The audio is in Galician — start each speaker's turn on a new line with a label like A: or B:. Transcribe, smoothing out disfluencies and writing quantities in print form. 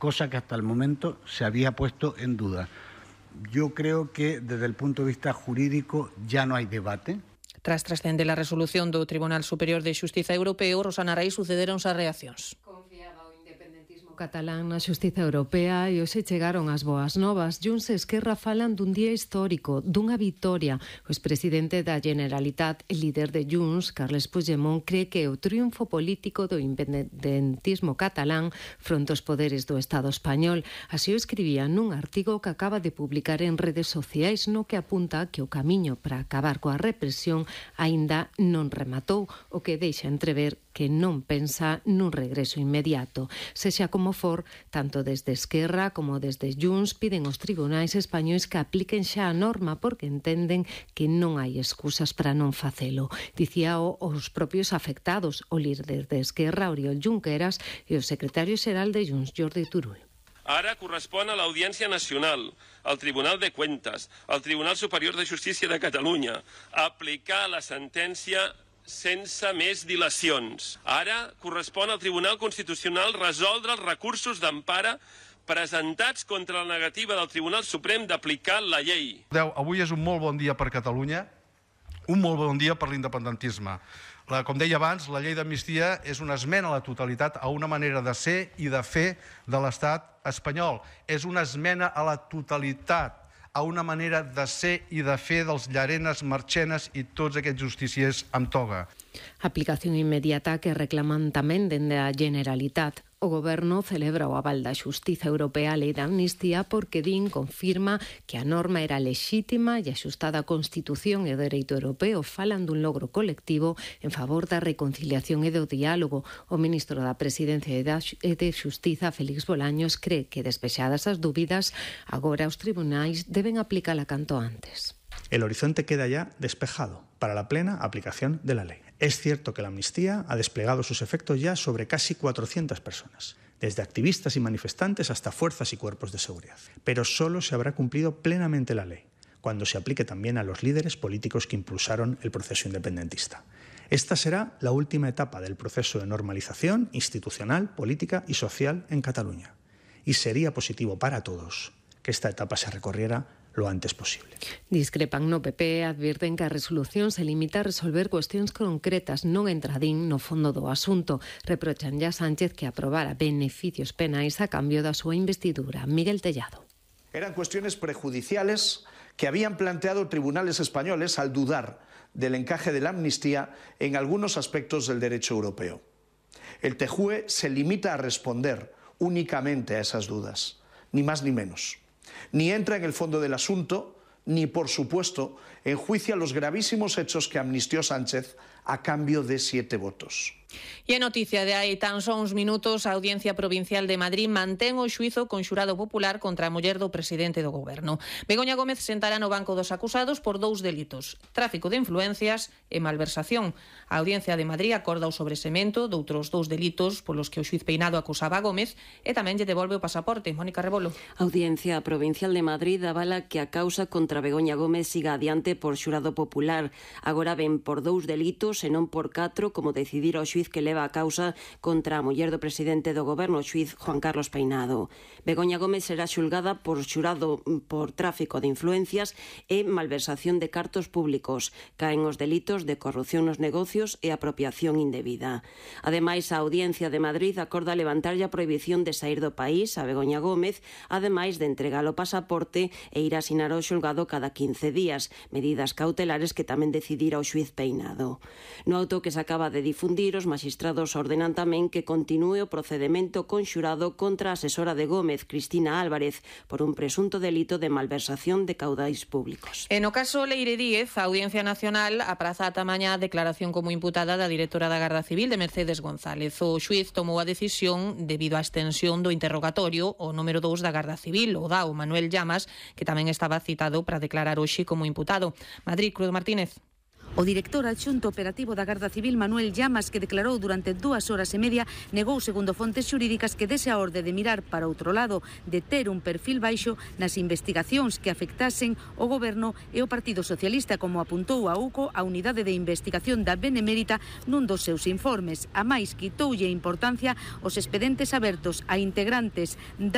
A: cosa que hasta el momento se había puesto en duda. Yo creo que desde el punto de vista jurídico ya no hay debate.
B: Tras trascender a resolución do Tribunal Superior de Xustiza Europeo, Rosana Rey, sucederonse as reaccións.
C: Confiaba o independentismo catalán na xustiza europea e hoxe chegaron as boas novas. Junts e Esquerra falan dun día histórico, dunha vitoria. O expresidente da Generalitat e líder de Junts, Carles Puigdemont, cree que o triunfo político do independentismo catalán fronte aos poderes do Estado español. Así o escribía nun artigo que acaba de publicar en redes sociais, no que apunta que o camiño para acabar coa represión aínda non rematou, o que deixa entrever que non pensa nun regreso inmediato. Sexa como for, tanto desde Esquerra como desde Junts piden aos tribunais españois que apliquen xa a norma porque entenden que non hai excusas para non facelo. Dicíao os propios afectados, o líder de Esquerra, Oriol Junqueras, e o secretario xeral de Junts, Jordi Turull.
D: Ara correspon a l'Audiència Nacional, al Tribunal de Cuentas, al Tribunal Superior de Justícia de Catalunya, aplicar la sentència sense més dilacions. Ara correspon al Tribunal Constitucional resoldre els recursos d'empara presentats contra la negativa del Tribunal Suprem d'aplicar la llei.
E: Avui és un molt bon dia per Catalunya, un molt bon dia per l'independentisme. Com deia abans, la llei d'amnistia és una esmena a la totalitat a una manera de ser i de fer de l'estat espanyol. És una esmena a la totalitat a una manera de ser i de fer dels Llarenas, Marchenas i tots aquests justiciers amb toga.
C: Aplicación inmediata que reclaman tamén dende a Generalitat. O Goberno celebra o aval da Xustiza Europea á Lei da Amnistía porque din confirma que a norma era lexítima e axustada á Constitución e ao dereito europeo. Falan dun logro colectivo en favor da reconciliación e do diálogo. O ministro da Presidencia e de Xustiza, Félix Bolaños, cree que despexadas as dúbidas, agora os tribunais deben aplicala canto antes.
F: El horizonte queda ya despejado para la plena aplicación de la ley. Es cierto que la amnistía ha desplegado sus efectos ya sobre casi 400 personas, desde activistas y manifestantes hasta fuerzas y cuerpos de seguridad. Pero solo se habrá cumplido plenamente la ley cuando se aplique también a los líderes políticos que impulsaron el proceso independentista. Esta será la última etapa del proceso de normalización institucional, política y social en Cataluña. Y sería positivo para todos que esta etapa se recorriera lo antes posible.
C: Discrepan no PP, advirten que a resolución se limita a resolver cuestións concretas, non entradín no fondo do asunto. Reprochan a Sánchez que aprobara beneficios penais a cambio da súa investidura. Miguel Tellado.
G: Eran cuestiones prejudiciales que habían planteado tribunales españoles al dudar del encaje de la amnistía en algunos aspectos del derecho europeo. El TJUE se limita a responder únicamente a esas dudas, ni más ni menos. Ni entra en el fondo del asunto, ni, por supuesto, enjuicia los gravísimos hechos que amnistió Sánchez a cambio de 7 votos.
B: E a noticia de hai tan só uns minutos, a Audiencia Provincial de Madrid mantén o xuízo con xurado popular contra a muller do presidente do goberno. Begoña Gómez sentará no banco dos acusados por 2 delitos: tráfico de influencias e malversación. A Audiencia de Madrid acorda o sobresemento doutros 2 delitos polos que o xuiz Peinado acusaba a Gómez e tamén lle devolve o pasaporte. Mónica Rebolo.
H: A Audiencia Provincial de Madrid avala que a causa contra Begoña Gómez siga adiante por xurado popular. Agora ven por 2 delitos e non por 4, como decidir o xuiz que leva a causa contra a muller do presidente do goberno, o xuiz Juan Carlos Peinado. Begoña Gómez será xulgada por xurado por tráfico de influencias e malversación de cartos públicos. Caen os delitos de corrupción nos negocios e apropiación indebida. Ademais, a Audiencia de Madrid acorda levantarlle a prohibición de sair do país a Begoña Gómez, ademais de entregar o pasaporte e ir a asinar o xulgado cada 15 días, medidas cautelares que tamén decidira o xuiz Peinado. No auto que se acaba de difundir, os magistrados ordenan tamén que continúe o procedemento conxurado contra a asesora de Gómez, Cristina Álvarez, por un presunto delito de malversación de caudais públicos.
B: E no caso Leire Díez, a Audiencia Nacional apraza ata mañá a declaración como imputada da directora da Garda Civil, de Mercedes González. O xuiz tomou a decisión debido á extensión do interrogatorio o número 2 da Garda Civil, o DAO, Manuel Llamas, que tamén estaba citado para declarar hoxe como imputado. Madrid, Cruz Martínez.
I: O director adxunto operativo da Garda Civil, Manuel Llamas, que declarou durante 2 horas e media, negou, segundo fontes xurídicas, que dese a orde de mirar para outro lado, de ter un perfil baixo nas investigacións que afectasen o Goberno e o Partido Socialista, como apuntou a UCO, a Unidade de Investigación da Benemérita, nun dos seus informes. A máis, quitoulle importancia os expedientes abertos a integrantes da